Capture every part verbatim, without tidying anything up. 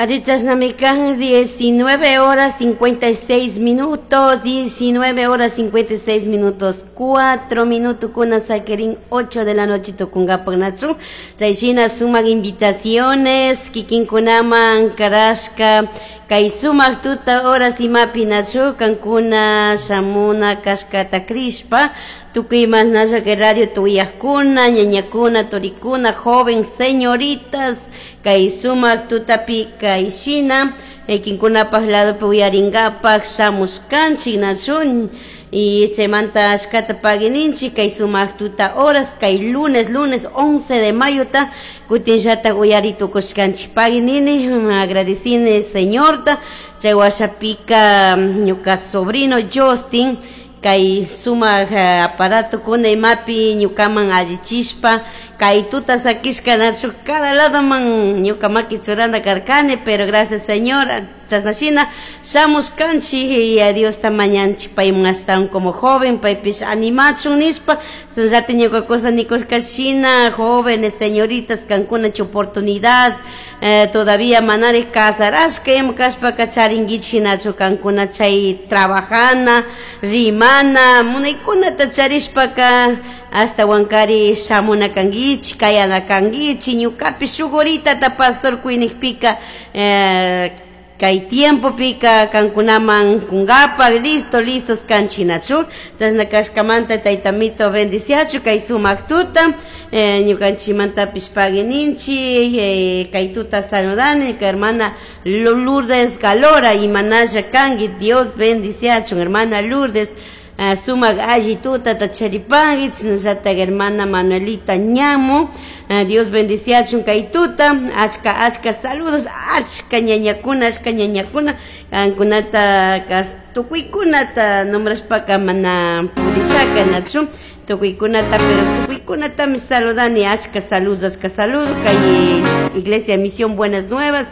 Arichashnamikan diecinueve horas cincuenta y seis minutos, diecinueve horas cincuenta y seis minutos, cuatro minutos kuna sakerin ocho de la noche tukungapak nachu. Chayshina sumak invitaciones, kikinkunaman karashka, kay sumak tuta horas imapi nachu, kankuna shamuna kashkata krishpa, tukuy masnasha que radio tuyakuna, ñañakuna, turikuna, joven, señoritas, kay sumak tutapi kayshina, kinkunapaj lado uyaringapak shamushkanchik nachu, y chaymanta ashkata paguininchik kay sumak tuta horas, kay lunes, lunes once de mayo ta, kutinllata uyari tukushkanchik paguinini, agradecine señorta, chay washapika ñuka sobrino Justin, kay sumak aparato kuna imapi ñukaman allichishpa, kay tuta sakishka nachu cada lado man ñuka maki churana karkani, pero gracias Señor, chasnashina shamushkanchik y a Dios ta mañanchik payman ashtawan como joven, paypish animachun nishpa, chashnallata ñuka cosa nikushkashina, jóvenes, señoritas, kankuna chay oportunidad, eh, todavía manari casarashka ima kashpaka charinkichik nachu kankuna chay trabajana, rimana, munaykunata charishpaka hasta wankari shamuna kankichik, kayana kankichik, ñukapish shuk horitata pastor kuinikpika, eh, kay tiempo pika kankunaman kungapak, listo, listos kanchik nachu, chashna kashkamanta taytamito bendiciachu kay sumak tuta, eh, ñukanchimantapish paguininchik, eh, kay tuta saludani, kay hermana Lourdes Galora, imanalla kanki, Dios bendiciachu, hermana Lourdes, ah, sumak alli tuta tacharipanki, chashnallata hermana Manuelita Ñamo, ah, Dios bendiciachun kay tuta, achka, achka saludos, achka ñañakuna, achka ñañakuna, kankunata kas tukuykunata nombrashpaka mana purishaka nachu, tukuykunata, pero tukuykunatami saludani, achka saludos, achka saludos, kay Iglesia Misión Buenas Nuevas,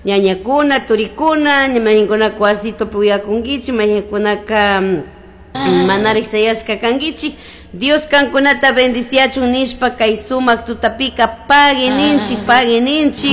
ñañakuna, turikuna, ñamajinkuna kuasito puyakunkichik, majikunaka manarik chayashka kankichik, Dios kankunata bendiciachun nishpa kay sumak tutapika paguininchik, paguininchik,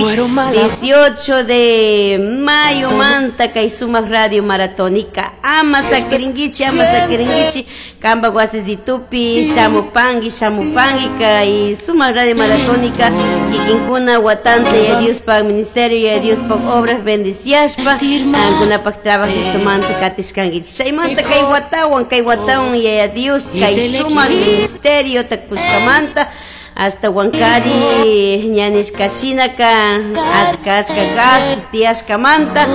dieciocho de mayo manta kay sumak radio maratónica, ama sakirinkichi, ama sakirinkichi, kamba wasisitupi, shamupangi, shamupangi, kay sumak radio maratónica, kikinkuna watante ya Dios pa ministerio, ya Dios pa obras bendiciashpa, kankunapak trabajito manta katishkankichi, chaymanta kay watawan, kay watawan ya Dios, kay sumak ministerio takushkamanta hasta Huancari ñanishkashinaka achka achka gastos tiyashkamanta